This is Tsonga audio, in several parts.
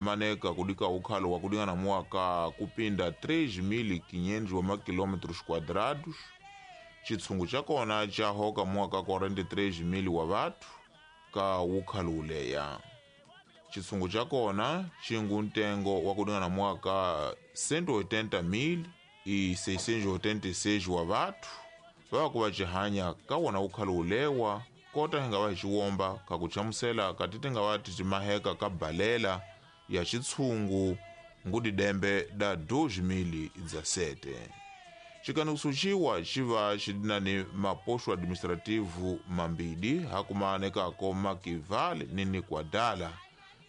Maneka kudika ukhalo wa kudingana muaka kupinda 3.500 wa makilometros quadrados. Chitsungu chakona chahoka mwaka 43.000 wa vathu ka ukhalo uleya. Chitsungu chakona chingu ntengo wa kudingana mwaka 180.686 wa vathu vakuva cihanya kawona ukhalo ulewa kota hinga va xiwomba kakuchamusela katiti nga va timaheka ka balela ya xitshungu ngudidembe da 2017. Xikaniso xiwa xi va xi na ni mapoxo administrativo mambili hakumanekako Makivale ni Nikwadala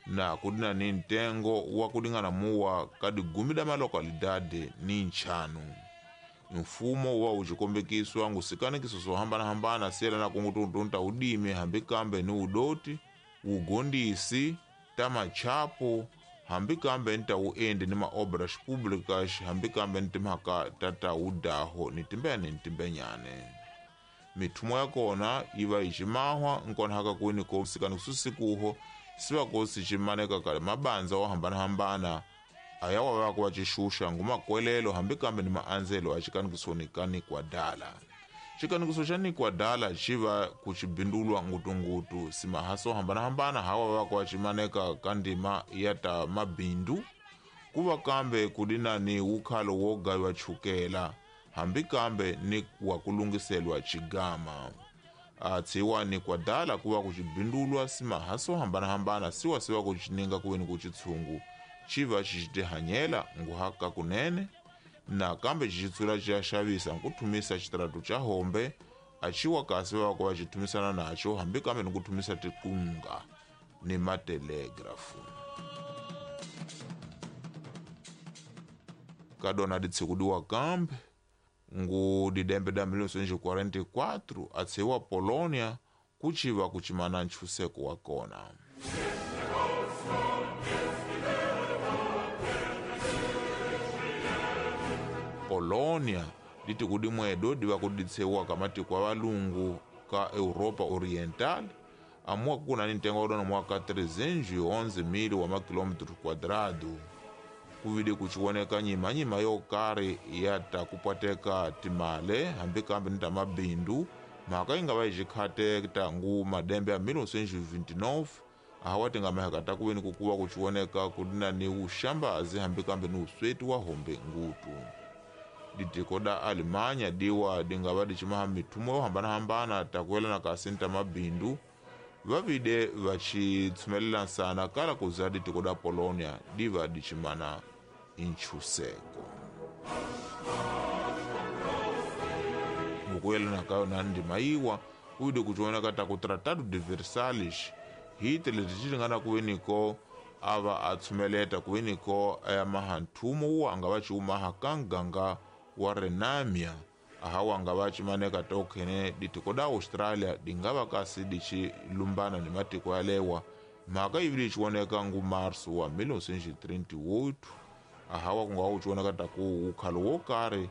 na kudina ni ntengo wa kulingana muwa ka digumi da malokalidade ni nchanu. Mfumo wa uxikombekiswa ngusikanekiso swo hambanahambana siyelana kungutuntunta udimi hambi kambe ni udoti ugondisi ta machapo hambi kambe ni ta uendi ni maobras públicas hambi kambe ni timhaka ta ta udaho ni timbene ni timbenyane. Mithumo ya kona yi va yi ximahwa nkona haka kwini ko sikanekiso sikuho siva ko siximaneka kale mabandza wo hambanahambana aya wa va ku va xixuxa ngumakwelelo hambi kambe ni maandzelo a xikanikisoni ka Nikwadala. Xikanikiso xa Nikwadala xi va ku xibindulwa ngutungutu simahaso hambanahambana hawa va ku va ximaneka ka ndima ya ta mabindu ku va kambe ku dina ni wukhalo wo gayiwa chukela hambi kambe ni wa ku lunghiselwa xigama. A tshiwa Nikwadala ku va ku xibindulwa simahaso hambanahambana siwa siwa ku xininga ku veni ku xitshungu xi va xi tihanyela nguhaka kunene na kambe xi tsula xi ya xavisa ku thumisa xitaratu xa hombe a xiwa kasi va ku va xi thumisana naxo hambi kambe ni ku thumisa tikunga ni matelegrafu. Ka dona ditshikudiwa kambe ngu didembe da 1944 a tshiwa Polonia ku xiva ku ximana nchuseko wa kona. Polonia ditikudimwedo diva kuditsewa ka matiko ya valungu ka Europa Oriental amua kuna ni ntengo wa mwaka 311.000 wa makilometro quadrado kuvide kuchiwoneka nyimanyima yo karhi ya ta kupwateka timale hambi kambe ni ta mabindu mhaka yi nga va yi xikhate ta ngu madembe ya 1929 ahawa ti nga maheka ta kuveni ku kuva kuchiwoneka ku dina ni uxambazi hambi kambe ni usweti wa hombe ngutu. Ditiko da Alemanya diwa dingava dichimaha mithumo yo hambanahambana ta kuyelana kasi ni ta mabindu vavide va xitshumelelasana sana kala kuza ditiko da Polonia diva dichimana inchuseko. Ngukuyelana kayo na ndima yiwa uide kuchioneka ta ku Tratado de Versalhes Hitler ticilingana kuveniko ava a tshumeleta kuveniko aya mahanthumo wu anga va xiumaha ka nganga wa Renamia ahawa anga va ximaneka tokhene ditiko da Australia dinga va kasi dichi lumbana ni matiko yalewa mhaka yi vile xiwoneka ngu Marso wa 1938 ahawa ku nga wu xiwoneka ta ku wukhalo wo karhi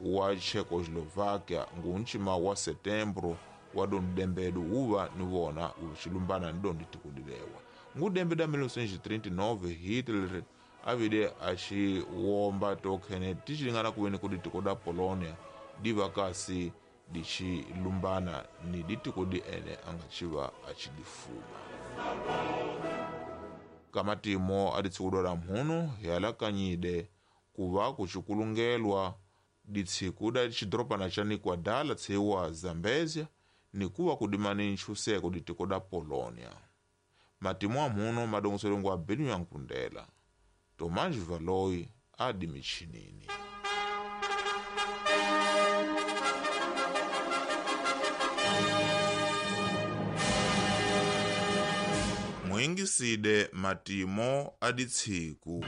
wa Czechoslovakia ngu nchima wa Setembro wa dondembedu wuva ni vona wu xilumbana ni dondi tiko dilewa. Ngudembe da 1939 Hitler avide a xi womba tokhene tixilingana kuveni ku ditiko da Polonia diva kasi dichi lumbana ni ditiko di ene anga xiva a xi difuma. Ka matimo a ditsikudo la mhunu hi alakanyide ku va ku xikulungelwa ditshiku da xidorobana xa Nikwadala tshiwa Zambezia ni kuva ku dimani nchuseko ditiko da Polonia. Matimo a mhuno madongoselongwa Benu ya Nkundela Tomanji Valoi adi michinini. Mwingiside matimo aditshiku.